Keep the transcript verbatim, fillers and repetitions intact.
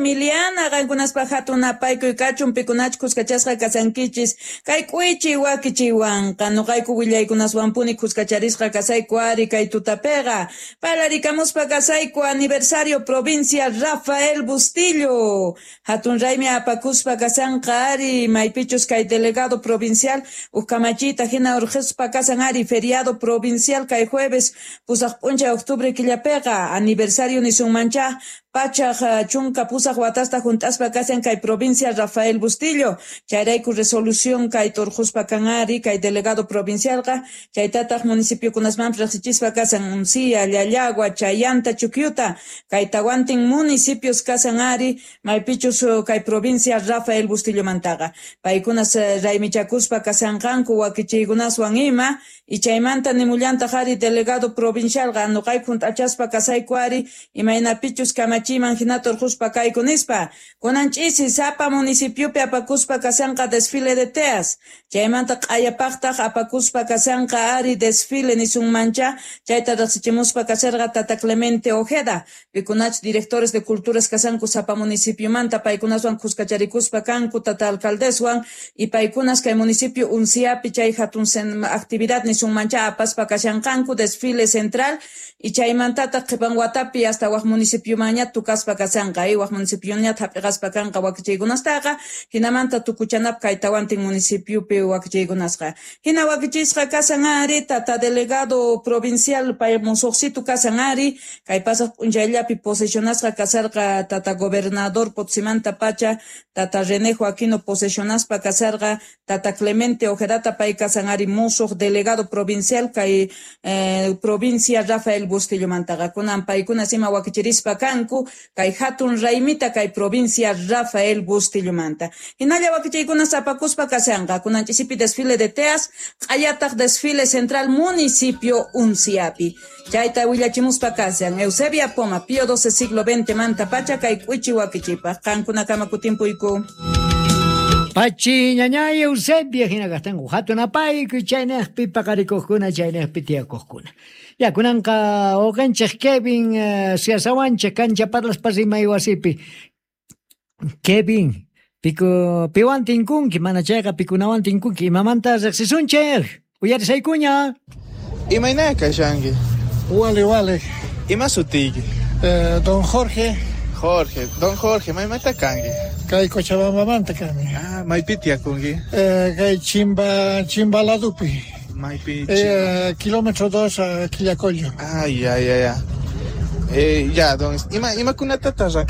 Emiliana, qankunaspaq hatun napaykuy kachun pikunach kuskachasqa kasankichis kay k'uichi wakichiwanqa nuqayku willaykunaswanpuni kuskacharisqa kasayku ari kay tutapiqa parlarikamuspa kasayku aniversario provincia Rafael Bustillo hatun raymi apakuspa kasanqa ari maypichus kay delegado provincial uj kamachiyta hina urqhispa kasan ari feriado provincial kay jueves pusaq p'unchay octubre killapiqa aniversario nisunmancha pachaq chunka pusaq watasta hunt'aspa kasan kay provincia Rafael Bustillo chayrayku resolución kay turquspa kan ari kay delegado provincialqa chaytataq municipiokunasmanpis riqsichispa kasan Uncía, Llallagua, Chayanta, Chukyuta kay tawantin municipios kasan ari maypichus kay provincia Rafael Bustillomantaqa paykunas raymichakuspa kasanqanku wakichiykunaswan ima y chaymanta nimullantaq ari delegado provincialqa nuqayku hunt'achaspa kasayku ari imaynapichus kamachiman hinata urquspa kayku nispa kunan ch'isi sapa municipiopi apakuspa kasanqa desfile de teas chaymanta q'ayapaqtaq apakuspa kasanqa ari desfile nisunmancha chayta riqsichimuspa kasarqa tata Clemente Ojeda pikunach directores de culturas kasanku sapa municipiomanta paykunaswan kuskacharikuspa kanku tata alcaldeswan y paykunas kay municipio Unciapi chay hatun actividad nisunmancha apaspa kashanqanku desfile central y chaymantataq qhipan watapi hasta wak municipiomanña tukaspa kasanqa y wak municipioña hap'iqaspa kanqa wakichiykunastaqa hinamanta tukuchanap kay tawantin municipiopi wakichiykunasqa hina wakichisqa kasan ari tata delegado provincial pay musuqsitu kasan ari kay pasaq p'unchayllapi posesionasqa kasarqa tata gobernador Potsimanta pacha tata René Joaquino posesionaspa kasarqa tata Clemente Ojedata pay kasan ari musuq delegado provincial kay eh, provincia Rafael Bustillomantaqa kunan paykunas ima wakichirispa kanku kay hatun raymita kay provincia Rafael Bustillo-manta hinalla wakichiykunas apakuspa kasanqa kunan ch'isipi desfile de teas q'ayataq desfile central municipio Unciapi chayta willachimuspa kasan Eusebia Poma Pío doce siglo veinte manta pacha kay k'uichi wakichipaq qankunakama kutimpuyku. Pachi ñañay Eusebia hina kastanku hatun apaykuy chaynaqpi paqarikuqkuna chaynaqpi tiyakuqkuna. Ya kunanqa uqanchik Kevin uh, siasawanchik kancha parlaspa rimay wasipi. Kevin, piku piwan tinkunki mana chayqa pikunawan tinkunki imamanta riqsisunchik uyarisaykuña. Imayna kashanki? Wale wale. Ima sutiyki? Eh, don Jorge. Jorge, don Jorge, maymanta kanki? Kay Cochabambamanta kani. Ah, maypi tiyakunki? Eh, kay Chimba, Chimbaladupi. Maypi eh, kilómetro dos a Quillacollo. Ah, ya, ya, ya. Eh, ya, don, ima imakunatataq